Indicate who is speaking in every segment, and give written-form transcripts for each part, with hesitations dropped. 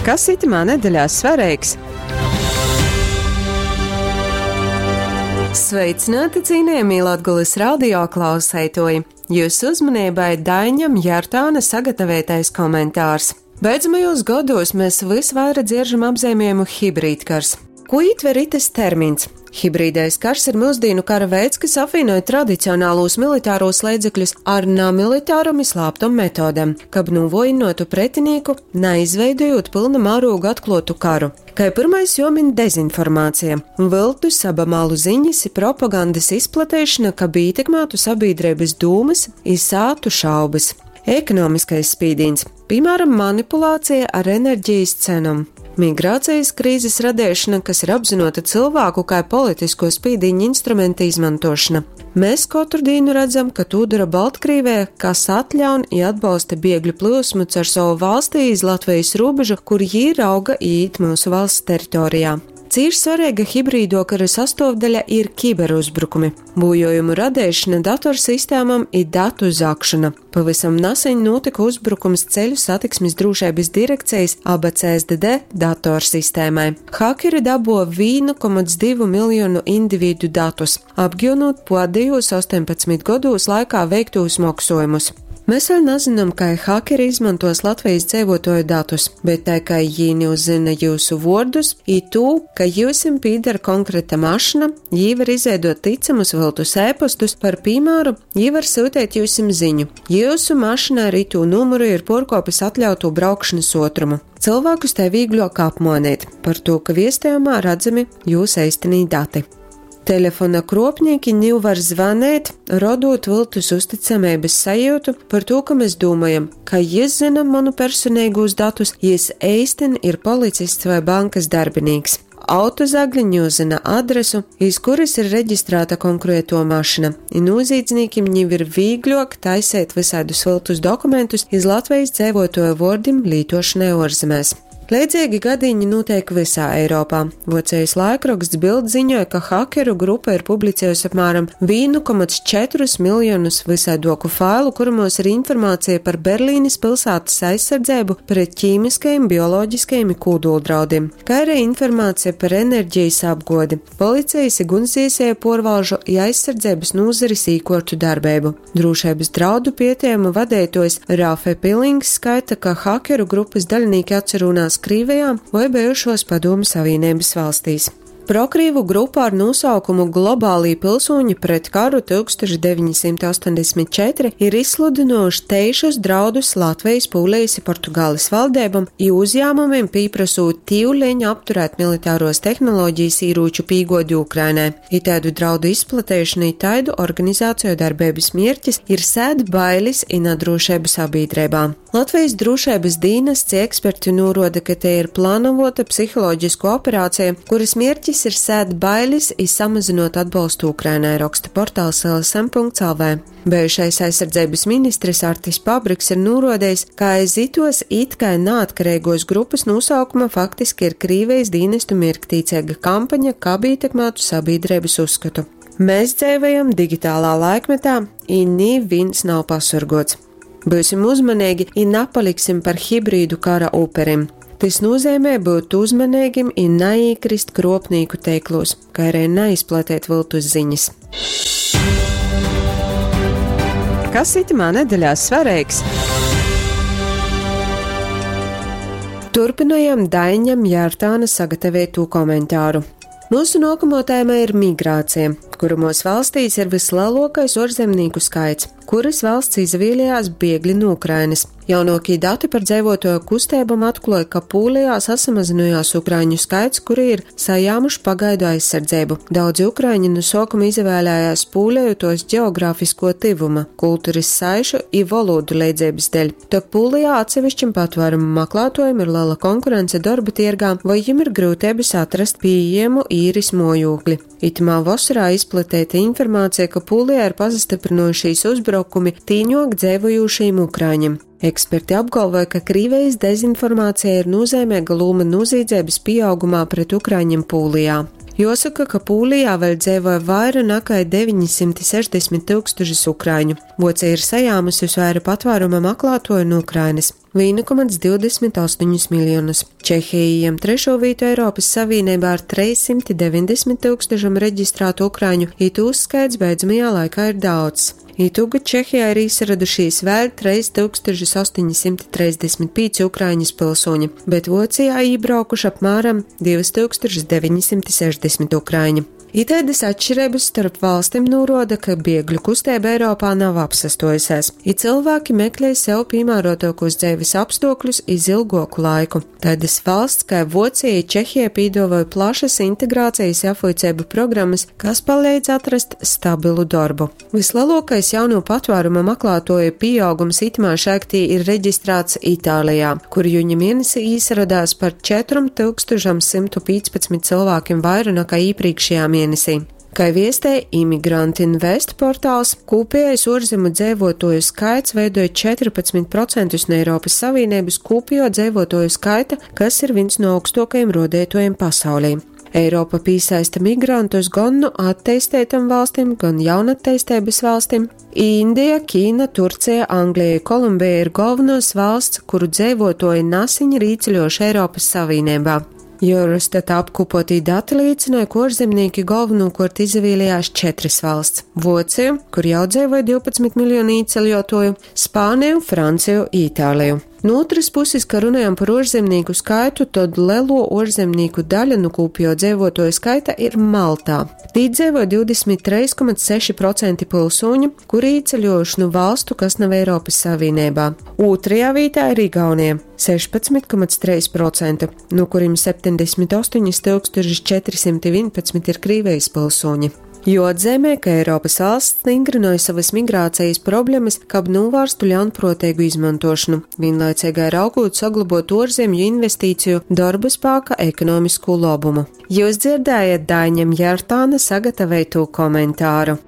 Speaker 1: Kas itymā nedeļā svareigs? Sveicināti, cienījamie Latgulas radio klauseitoji! Jūsu uzmanībai Daiņam Jārtāna sagatavotais komentārs. Beidzamajos gados mēs visvairāk dzieržam apzīmējumu hibrīdkars. Ko ietver itas termins? Hibrīdais kars ir mūsdienu kara veids, kas apvienoja tradicionālos militāros līdzekļus ar namilitārom i slāptom metodem, kab nūvojinotu pretinīku, naizveidojot pylna mārūga atkluotu karu. Kai pyrmais juomin dezinformācija, vyltus aba malu ziņis i propagandys izplateišona, kab ītekmātu sabīdreibys dūmys i sātu šaubys. Ekonomiskais spīdīņs, pīmāram, manipulācija ar enerģijas cenom. Migrācijas krīzes radeišona, kas ir apzynuota cylvāku kai politiskuo spīdīņa instrumenta izmontuošona. Mes kotru dīnu redzam, ka tū dora Baltkrīveja, kas atļaun i atbolsta biegļu plyusmu car sovu valsti iz Latvejis rūbežu, kur jī rauga īīt myusu valsts teritorijā. Cīši svareiga hibrīduo kara sastuovdaļa ir kiberuzbrukumi, būjuojumu radeišona datorsistēmom i datu zagšona. Pavysam naseņ nūtyka uzbrukums Ceļu satiksmis drūšeibys direkcejis aba CSDD datorsistēmai. Hakeri dabuo 1,2 miljonu individu datus, apgiunūt pādejūs 18 godūs laikā veiktūs moksuojumus. Mes vēļ nazynom, kai hakeri izmontuos Latvejis dzeivuotuoju datus, bet tai kai jī niu zyna jiusu vuordus i tū, ka jiusim pīdar konkreta mašyna, jī var izveiduot tycamus vyltus e-postus, par pīmāru, jī var syuteit jiusim ziņu, Jiusu mašyna ar itū numuru ir puorkuopis atļautū braukšonys uotrumu. Cylvākus tai vīgļuok apmuoneit, partū ka viestejumā radzami jūs eistynī dati. Telefona kruopnīki niu var zvaneit, rodūt vyltus uzticameibys sajiutu par tū, ka mes dūmojam, ka jis zyna manu personeigūs datus, jis eistyn ir policists voi bankys darbinīks. Autozagļi niu zyna adresu, iz kurys ir registrāta konkretuo mašyna, i nūzīdznīkim niu ir vīgļuok taiseit vysaidus vyltus dokumentus iz Latvejis dzeivuotuoju vuordim lītuošonai uorzemēs. Leidzeigi gadīņi nūteik vysā Eiropā. Vuocejis laikroksts Bild ziņoj, ka hakeru grupa ir publicējusi apmēram 1,4 miljonus vysaiduoku failu, kurymūs ir informācija par Berlīnis pilsātys aizsardzeibu pret ķīmiskajim, bioloģiskajim i kūduldraudim, kai ari informācija par enerģijas apguodi, policejis i guņsdziesieju puorvalžu i aizsardzeibys nūzaris īkuortu darbeibu. Drūšeibys draudu pietejumu vadeituojs Rafe Pilings skaita, ka hakeru grupys dalinīki atsarūnās Krīvejā voi bejušuos Padūmu Savīneibys valstīs. Prokrīvu grupa ar nūsaukumu Globālī pilsūņi pret karu 1984 ir izsludynuojuši teišus draudus Latvejis, Pūlejis i Portugālis valdeibom i uzjāmumim, pīprasūt tiuleņ apturēt militāruos tehnoloģijas īrūču pīguodi Ukrainai. Itaidu draudu izplateišona i taidu organizāceju darbeibys mierķis ir sēt bailis i nadrūšeibu sabīdreibā. Latvejis drūšeibys dīnasts i eksperti nūruoda, ka tei ir planavuota psiholoģiskuo operaceja, kurys mierķis ir sēt bailis i samazynuot atbolstu Ukrainai, roksta portals LSM.lv. Bejušais aizsardzeibys ministrs Artis Pabriks ir nūruodejs, ka aiz ituos it kai naatkareiguos grupys nūsaukuma faktiski ir Krīvejis dīnestu mierktīceiga kampaņa, kab ītekmātu sabīdreibys uzskotu. Mēs dzeivojam digitālā laikmetā, i nivīns nav pasorguots. Byusim uzmaneigi i napaliksim par hibrīdu kara uperim. Tys nūzeimē byut uzmaneigim i naīkrist kruopnīku teiklūs, kai arī naizplateit vyltus ziņis. Kas itymā nedeļā svareigs? Turpynojam Daiņam Jārtāna sagataveitū komentāru. Myusu nuokamuo tēma ir migrācija, kuramuos valstīs ir vysleluokais uorzemnīku skaits, kurys valsts izavielejās biegli nu Ukrainys. Jaunuokī dati par dzeivuotuoju kusteibom atkluoj, ka Pūlejā sasamazynojās ukraiņu skaits, kuri ir sajāmuši pagaidu aizsardzeibu. Daudzi ukraiņi nu suokuma izavēlējās Pūleju tuos ģeogrāfiskuo tyvuma, kulturys saišu i volūdu leidzeibys deļ. Tok Pūlijā atsevišķim patvērumu maklātuojim ir lela konkurence dorba tiergā voi jim ir gryuteibys atrast pīejamu īris muojūkli. Itymā vosorā izplateita informācija, ka Pūlijā ir pasastyprynuojušīs uzbrukumi tīņuok dzeivojūšajim ukraiņim. Eksperti apgalvoja, ka Krīvejis dezinformācija ir nūzeimeiga lūma nūzīdzeibys pīaugumā pret ukraiņim Pūlijā. Juosoka, ka Pūlijā vēļ dzeivoj vaira nakai 960 tūkstošus ukraiņu. Vuocija ir sajāmusi visvaira patvāruma maklātuoju nu Ukrainas - 1,28 miljonus. Čehija ieņem trešo vītu Eiropas Savienībā ar 390 tūkstošiem reģistrētu ukraiņu, i tūs skaits beidzamajā laikā ir daudz. Itūgad Čehijā ir iesaradušies vēl 3835 Ukraiņas pilsoņi, bet Vācijā iebraukuši apmēram 2960 ukraiņi. Itaidas atšķirības starp valstim noroda, ka biegļu kustība Eiropā nav apsastojusies, i cilvēki meklē sev piemērotākos dzīves apstākļus iz ilgāku laiku. Tādas valsts kā Vācija, Čehija pīdavoja plašas integrācijas apvuicību programmas, kas palīdz atrast stabilu darbu. Vislielākais jauno patvēruma meklētoju pieaugums itamā šaktī ir reģistrēts Itālijā, kur juņa mēnesī īsaradās par 4115 cilvēkiem vairāk nekā iepriekšējā mēnesī. Kā viestē Immigrant Invest portāls, kopējais ārzemju dzēvotoju skaits veidoja 14% no Eiropas Savienības kopējo dzēvotoju skaita, kas ir viens no augstākajiem rodētojiem pasaulē. Eiropa piesaista migrantus gan no attīstītām valstīm, gan jaunatīstības valstīm. Indija, Ķīna, Turcija, Anglija, Kolumbija ir galvenos valsts, kuru dzēvotoji nasiņi ir īceļoši Eiropas Savienībā. Eurostat apkopotī dati liecināja, ka ārzemnieki galvenokārt izvēlējās četras valsts - Vociju, kur jau dzīvoja 12 miljoni īceļotoju, Spāniju, Franciju, Itāliju. No otras puses, ka runājam par ārzemnieku skaitu, tad lielo ārzemnieku daļa no kopējo dzīvotoju skaita ir Maltā. Tī dzīvo 23,6% pilsoņu, kuri īceļojuši no valstu, kas nav Eiropas Savienībā. Otrajā vietā ir Igaunija - 16,3%, no kuriem 78 411 ir Krievijas pilsoņi. Jo atzīmē, ka Eiropas valsts stiprināja savas migrācijas problēmas, kab novērstu ļaunprātīgu izmantošanu, vienlaicīgai raugot saglabot ārzemju investīciju, darba spēka ekonomisko labumu. Jūs dzirdējat Daiņam Jērtāna sagatavoto komentāru.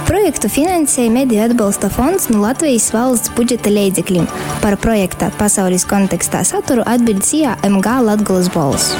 Speaker 2: Projektu finansēja Mediju atbalsta fonds no Latvijas valsts budžeta līdzekļiem. Par projekta pasaules kontekstā saturu atbild SIA MG Latgulas bols.